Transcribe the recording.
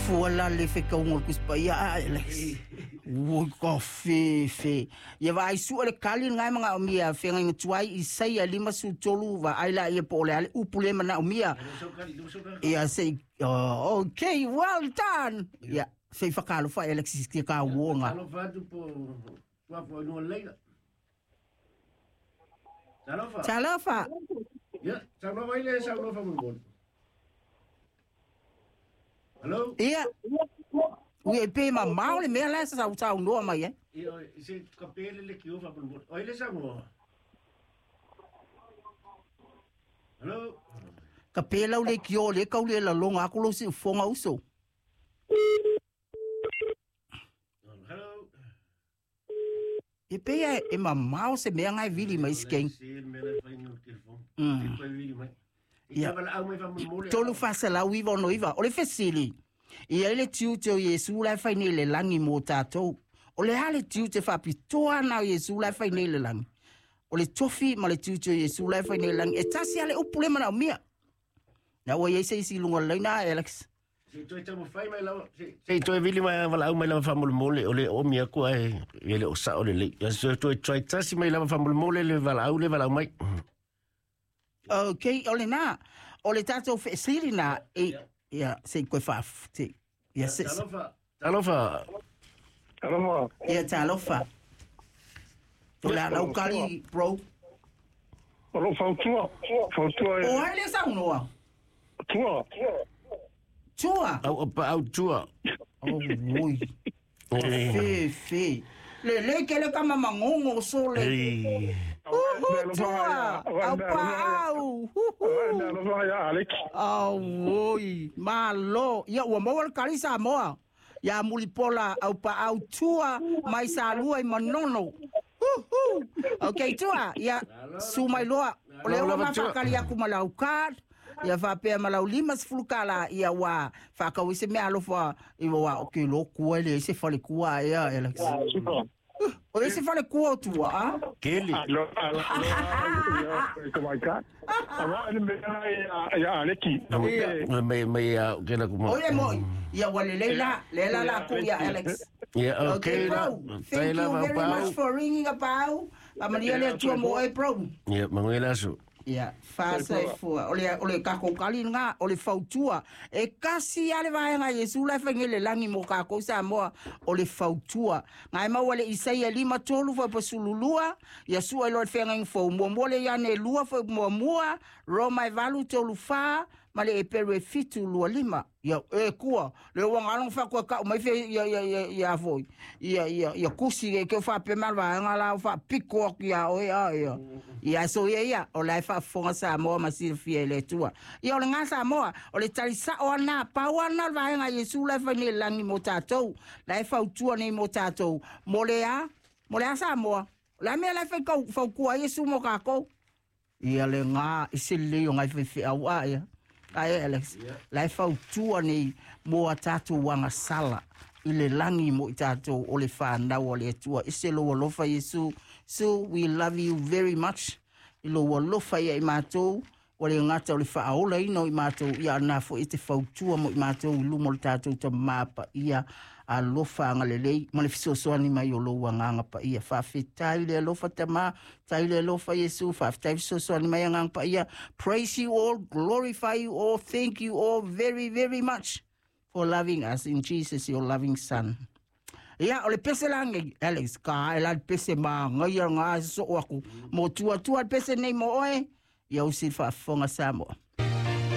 Fua la le fekauga o le Tusi Paia a Alex. Ui ka fefe. Ia vaai sua le kali ngai manaomia feagaiga tuai Isaia 53 vaai laia po o le a le upu lea manaomia. Ia se i oh, okay, well done. Ia se i whakalofa e Alexis ki ka uonga. Talofa atu po tuafo i leila. Talofa. Talofa. Ia, saunoa mai le saunoa faamolemole. Hello? Ia. Ui e pe mamao le mea la sa saunoa mai ai. Ia, se ka pele le kio faamolemole. O ai le saunoa? Hello? Ka pe lau le kio le kau le lalonga aku lo siufoga uso. Hello? E pei e mamao se mea ngai vili mai skeng. Se le mea le fai no telefone. Se koe vili mai. Ia. I ka valaau mai faamolemole. 3 4 9 6 9. O le fesili. I ai le tiute o Iesu la e fai nei i le lagi mo tatou. O le a le tiute faapitoa na o Iesu la e fai nei i le lagi? O le tofi ma le tiute o Iesu la e fai nei i le lagi. E tasi a le upu le manaomia. Na ua iai se isi i luga o le laina, Alex. Se i toe taumafai mai lava, se i toe vili mai valaau mai lava faamolemole, o le oomi aku ae e le o sao lelei. Ia se toe try tasi mai lava faamolemole le valaau le valaau mai. Okay, o lena. O le tatou fesili na e ia se i koe faa se ia se Talofa. Talofa. Talofa. Ia talofa. O le ala ukali bro. O lou fautua. Fautua e. O ai le saunoa? Tua. Tua. Au pa au tua. Oh, oi. Fe, fe. Le le ke le kama mangongo so le. Ei. Uhu, tua. Au pa au. Uhu. Alofa ia Alex. Au, oi. Malo. Ia, ua maua le kali Samoa. Ia mulipola au pa au tua mai Salua i Manono. Uhu. Okay, tua. Ia, su mai loa. O le ua mawhakali aku ma lau card. Ia faapea ma lau 50 kala ia ua whakau i se mea alofa i ua o ke lo kua le se fale kua ia Alex. O le se fale kua o tua a? Keli. Alo, alo, alo, ko mai ka. Awa le mea ia Aleki. Mai mai a ke la kuma. O ia moi. Ia ua le leila, le la la ku ia Alex. Yeah, Okay, okay. bro. Thank you very much for ringing about. Amalia le tua mo e bro. Yeah, manguela su. Ia, fasa e fua. O le kako kali nga, o le fautua. E kasi ale vaenga Yesu la whainge le langi mo kako sa moa o le fautua. Ngai maua le Isaia 53 fo pasululua, ia sua ilo le whenga fo mua mua le iane lua fo mua mua, Roma e 8 3 4, ma le Eperu e 7 2 5. Ia, e kua, le ua ngalong fa kua kau mai fe ia ia ia ia foi. Ia ia ia kusi ke ke fa pe mal vaenga la fa piko aku ia oe a ia. Ia so ia ia, o la e faafofoga Samoa ma silafia i le Atua. Ia o le gā Samoa, o le talisao ana, pau ana le vaega Iesu la e fai nei i le lagi mo tatou. La e fautua nei mo tatou. Mo le a? Mo le a Samoa? O le a mea la e fai kau faukua ai Iesu mo kākou? Ia le gā i se lelei o ngai faifeau a ia. Ai Alex, la e fautua nei mo a tatou agasala i le lagi mo i tatou o le whanau o le Atua. I se lou alofa Iesu. So we love you very much. I lou alofa ia i matou. Ua le gata o le faaolaina o i matou ia na foi e te fautua mo i matou i luma o le tatou tamā paia alofa agalelei ma le fesoasoani mai o lou agaga paia. Faafetai le alofa tamā, tai le alofa Iesu, faafetai fesoasoani mai agaga paia. Praise you all, glorify you all, thank you all very, very much for loving us in Jesus, your loving Son. Ia, o le pese langi, Alex, ka e la le pese ma ngai ngā so aku. Mo tua tua le pese nei mo oe, ia usi faafofoga Samoa.